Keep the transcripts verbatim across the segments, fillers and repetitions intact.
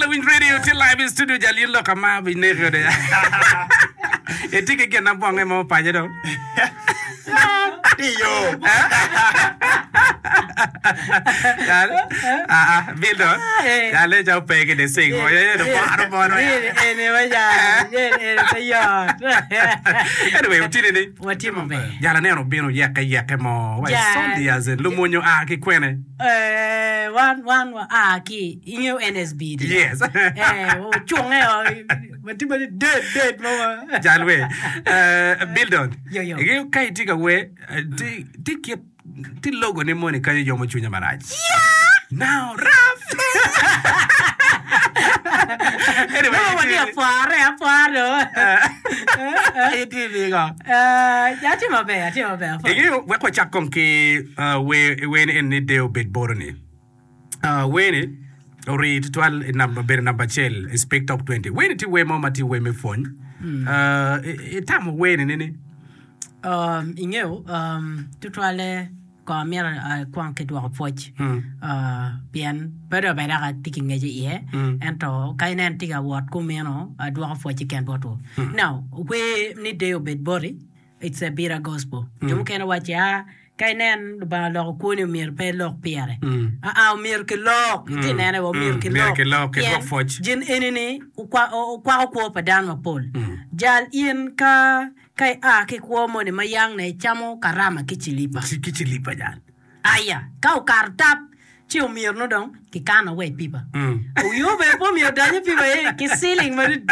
Lawiny Radio tye live in studio jal in lok ama bineki ode. Itye ki gin abonge mo paco dong. Tye i yo. Jal, ah ah, Bill dong. Jal ne ca ope ki the sing. Oye do boro boro. Eni wa jal, eni pe yot. Anyway, otini ni. Watye maber. Jal aneno obino yeke yeke mo. Wa Jal. soldiers, lumonyo a ki kwene. Eh, wan wan wa a ki ingeyo N S B di. Yes. Eh, ocunge o, watye ma dead dead mo ma. Jal we. Uh, Bildon. Yo, yo. Ingeyo ka itye ka wer, eh, ti ti kit ti logo ni moni kanyo yomo cwinya marac. Now, rough. Anyway, No, watye apware, apware. Itye nigo. Eh, atye maber, atye maber. Apware. Ingeyo wek wacak kong ki uh, wer wer ni en ni deo bed boro ni. Uh, wer ni ori tutwal i namba bedo namba acel i Speak Top twenty. Wer ni tye wer mo ma tye wer me pwony. Uh, i- itamo wer ni nini? Um, ingeyo um, tutwale ko amito akwong ki dwoko pwoc Mm. uh, pien pe dong bene dok atye ki ngec iye Mm. ento ka inen tye ka wot kumeno adwoko pwoc keken botwu. Now, wer ni deo bed boti, it's a bitter gospel. Jo mukene waci a ka inen Lubanga oloko kwoni omyero pe ilok pire. Mm. Aa, omyero kilok iti nene wa omyero Mm. kilok. Myero kilok, Pien kidwok pwoc. gin eni-ni okwa- okwako kwo pa dano mapol. Jal in ka ka ia ki kwo moni ma yang ne icamo karama ki cilipa. Ki ki cilipa jal. Aya, ka okato tap ci omyero no dong kikano wa i pipa. Mm. Oyo bene pe omyero donyo i pipa eni ki ciling madit.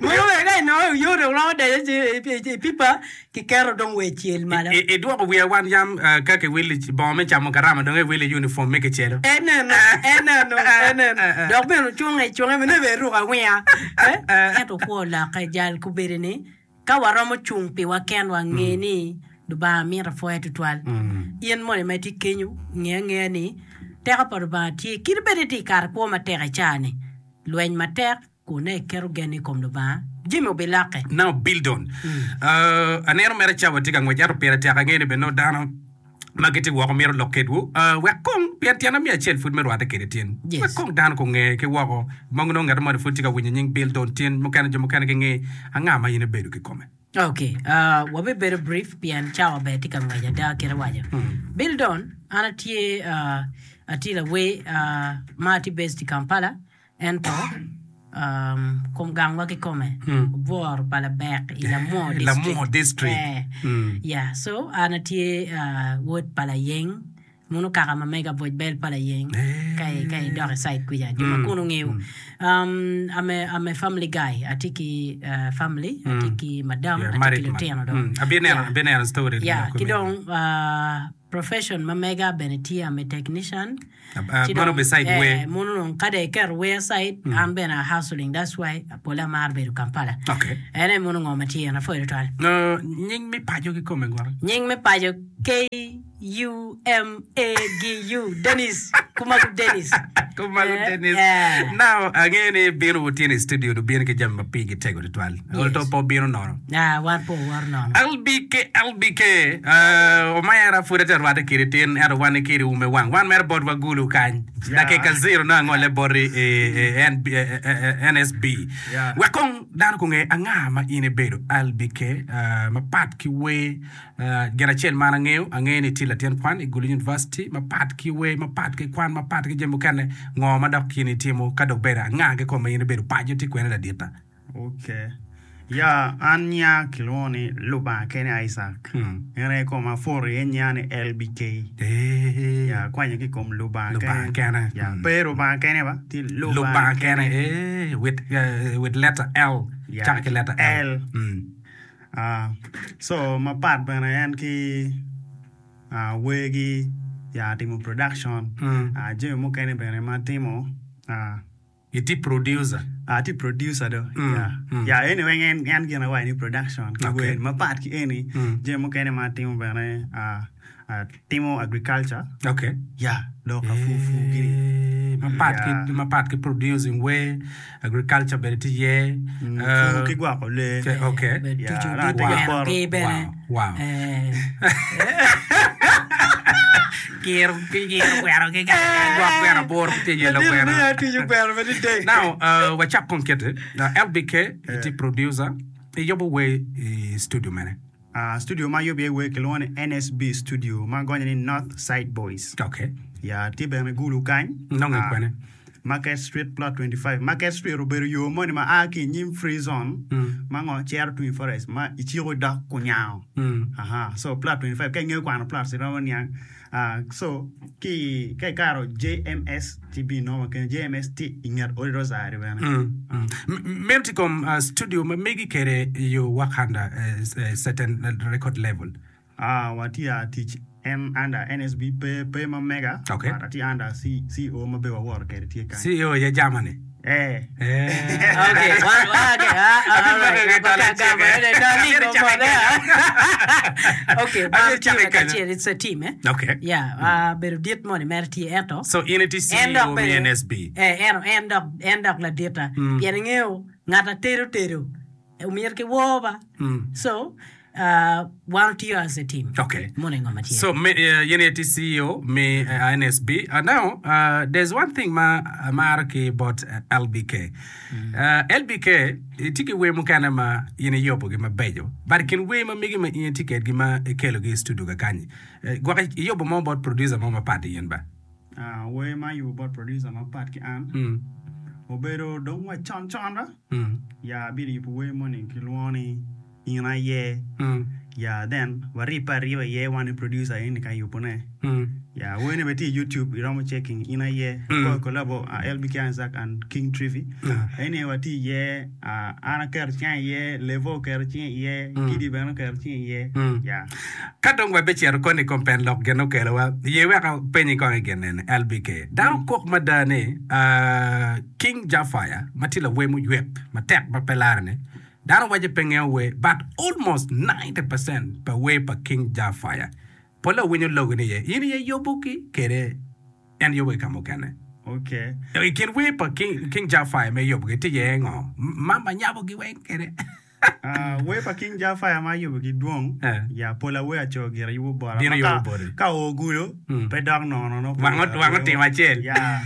Mogo bene ka inongo oyo dong romo donyo i- i i pipa kiketo dong wa i cel malo. I- Idwoko wiya wan yam uh, ka kiwili bongo me camo karama dong iwili uniform me kicelo. Eneno, eneno, eneno. Dok bene ocunge, cunge bene bene ruko awinga. Eh? Ento kwo olokke jal kubedi ni ka waromo cung piwa kenwa nge ni Lubanga mito apwoya tutwal. In moni ma itye kenyo nge angeya ni teko pa Lubanga tye kadi bed itye i kare kwo matek i caa-ni lweny matek kun ne iketo gen i kom Lubanga jami obilokke. Now Bildon. Uh, aneno mere cawa tye ka ngwec ento pire tek angeyo ni bene nongo dano ma gitye woko mito lok kedwu. Uh, wek kong pien tyen miya acel pud me rwatte kede tyen. Yes. Wek kong dano konge ki woko ma nongo ngat moni pud tye ka winyo nying Bildon tyen mukene jo mukene ginge anga ma in ibedo kikome. Ok, uh, wabibedo brief pien cawa bene tye ka ngwec ada kite waco. Bildon, an atye uh, atye lawer uh, ma atye based i Kampala ento um, kom gangwa kikome obworo pa Labek i Lamwo Lamwo district. district. Eh, Mm. yeah, so an atye uh, wod pa Layeng muno kaka ma mega bwec bel pa Layeng ka i- ka idok i side kuca jo ma kuno ngeyo. um, I'm a, I'm a family guy, atye ki uh, family, atye ki madam, Yeah, atye ki married man. lutino dong. Mm. Abineno Yeah. abineno story. Yeah, ki dong uh, profession ma mega bene tye I'm a technician. Uh, Ci mono dong, beside eh, wer. Mono dong ka dong iketo wer aside, an bene a hustling, that's why pole amaro bedo Kampala. Okay. En aye mono ngo ma tye en apwoyo tutwal. Uh, nying mi paco kikome gwara. Nying me paco K U M A G U Dennis Kumagu Dennis. Kumagu Eh, Dennis. eh. Now angeyo ni bino wutye i studio obino ki jami ma pigi tego tutwal. Yes. Olto po bino nono. Ah, wan po waro nono. L B K L B K uh, omera pud ate rwatte kede tin ento wan kede ume wang wan mere bot wagulu kany dakika zero no angole boti i, i, N B, eh, eh, N S B. Yeah. Wek kong dano konge anga ma in ibedo L B K uh, mapat ki wer uh, gin acel man angeyo angeyo ni tye latin kwan i Gulu University mapat ki wer mapat ki kwan mapat ki jami mukene ngo ma dok in itimo ka dok bedo anga kikome ma in ibedo paco tye kwene ladita. Okay. Ya, an nya kilwongo ni Lubanga kene Isaac. Hmm. En aye koma afoto iye nya ni L B K. Eh. Ya, akwanyo ki i kom Lubanga Lubanga kene. Ya, Mm. pe Lubanga kene ba, tye Lubanga Lubanga kene kene. eh, with, uh, with letter L. Ya, Cako ki letter L. L. Mm. Ah, so mapat bene en ki ah, wergi ya timo production. Mm. Ah, jami mukene bene ma atimo ah, Iti producer. Atye producer do. Mm, Ya. mm. Ya, anyway en en gin awaco ni production ki Okay. wer mapat ki eni Mm. jami mukene ma atimo bene ah, atimo agriculture. Okay. Ya, lok afufu gini. Eh, mapat Ya. ki mapat ki producing wer agriculture bene tye iye. Mm, Uh, pur ki gwoko lee. Okay, okay. Bed Ya, tucu na di atye ki gweno poto. ki bene. Wow, wow. Eh, Kiro kiro gweno ki gwok gweno aboro tye yelo Ladit gweno. ni atuco gweno madidek. Now, uh, wacak kong kete. Uh, LBK, iti producer, iyubo wer i studio mene. Ah, studio ma ayubo iye wer kilwongo ni NSB Studio ma gonyo ni North Side Boys. Okay. Ya tye bene Gulu kany. Nonge Ah, kwene. Market Street plot twenty five. Market Street obedo yo moni ma a ki i nyim free zone ma ngo cero tung i forest ma iciko idok kunyango. Aha, so plot twenty five ka ingeyo kwano plots iromo niang. Ah, so ki ka ikato JMS ci ibinongo kenyo JMS tye i nget odi Rosary bene. Meno tye kom uh, studio ma megi kede you work under a, a certain record level. Ah, watye a tic en under NSB pe pe ma mega Okay. but atye under C, CEO ma be waworo kede tye kany. CEO ye Germany. Eh. Eh. Okay, one, okay, ah, ah, Abi all right. mako ki tala Gamba, ceke. gamba, darling, Abi go cake for kenyo. Okay, Abi bar cake team kenyo. kacel, it's a team, eh? Okay. Yeah, ah, bedo dit moni mere tye ento. So in iti En CEO dok me bene- NSB. Eh, en en dok en dok ladita. Pien ingeyo ngat atedo tedo. Omyero ki wor ba. So, uh, wan otiyo as a team. Okay. Mono i ngom atye. So me, uh, yen iti CEO me uh, NSB. Uh, now, uh, there's one thing ma amaro ki bot uh, LBK. Uh, LBK, itye ki wer mukene ma in iyubogi mabeco. But i kin wer ma megi ma in itye kedgi ma ikelogi i studio kakanyi. Uh, gwok iyubo mo bot producer mo mapat i yen ba? Ah, wer ma ayubo bot producer mapat ki an. Mm. Obedo dong wa con con ra. Mm. Ya abido yubo wer moni kilwongo ni In Aye. Mm. Ya then waribbe ariba iye wan i producer eni ka yubone. Mm. Ya wer-ni bene tye i YouTube iromo checking In Aye. Mm. Collabo uh, LBK Isaac and King Trivi. Mm. Eni watye iye uh, an aketo cinga iye, Levo oketo cinge iye, Kidi bene oketo cinge iye. Mm. Ya. Ka dong wabecito koni i kom pen lok gin okelowa, ye wek apenyi kong i gin eni, LBK. Dano kok mada ni uh, King Jafire, ma tye lawer muywek matek ma pe lare-ni, dano waco pe ngeyo wer, but almost ninety percent pa wer pa King Jafire pole owinyo logo ni iye, in iye yubo ki kede en yubo ki ka mukene. Okay. I kin wer pa King, King Jafire me yubo ki tye iye ngo? Mama nyabo gi weng kede. Ah, wer pa King Jafire ma ayubo ki dwong, Eh. ya pol awer aco gira yubo bota. Bino Ma ka- yubo boti. Ka oo gulo, Mm. pe dok nono no. Wang ot- wang otimo acel. Ya.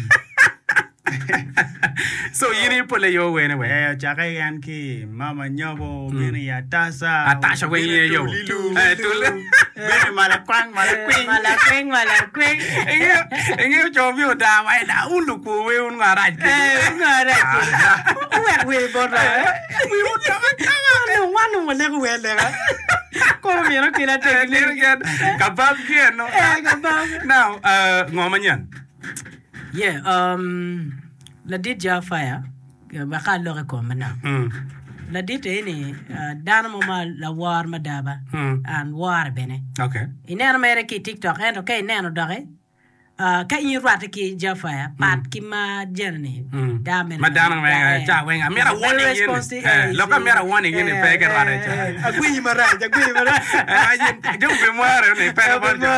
So in i pole yo wene we. Eh, ocake en ki Mama Nyobo, bino i Atasa. Atasha weng bino iye yo. Tulilu. Eh, Tulilu. Bino i Malakwang, Malakwing. Malakwing, malakwing. Ingeyo ingeyo co mi oda wa eda un lukwo we un ngarac kede. Eh, un ngarac kede. Uwek wer bota. Wi otoka toka. Wan wan nongo waleko wer leka. Koro myero okela tek Eh, lir gen. Kabab ki eno. Eh, kabab. Now, uh, ngo manyen? Yeah, um, ladit Jafire, wek alok i kome manok. Mm. Ladit eni, uh, dano mo ma lawor madaba, Mm. an wore bene. Okay. Ineno mere ki i TikTok, ento ka ineno doki, uh, ka in irwatte ki Jafire, pat ki ma jeni-ni, Mm. dano mene Ma dano ma- me- eh, ca weng, amyero very a warning yeni. responsive, Eh, eh, lok amyero a warning yeni, eh, pe ki rwate eh, ca. eh, agwinyi marac, agwinyi marac. Eh, ayen, jo be mwere ni, pe Eh, bot be jo.